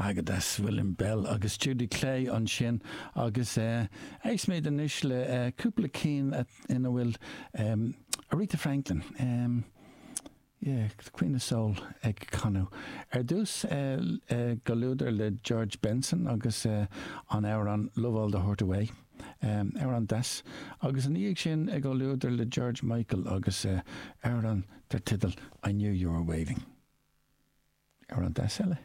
Go deas William Bell agus Judy Clay ansin agus éistfimid anois le cúpla cinn ina bhfuil Aretha Franklin, yeah, the Queen of Soul ag canadh. Ar dtús i gcomhluadar le George Benson agus an amhrán Love All the Hurt Away, amhrán deas, agus ina dhiaidh sin i gcomhluadar le George Michael agus amhrán dar teideal I Knew You Were Waiting. Amhrán deas eile.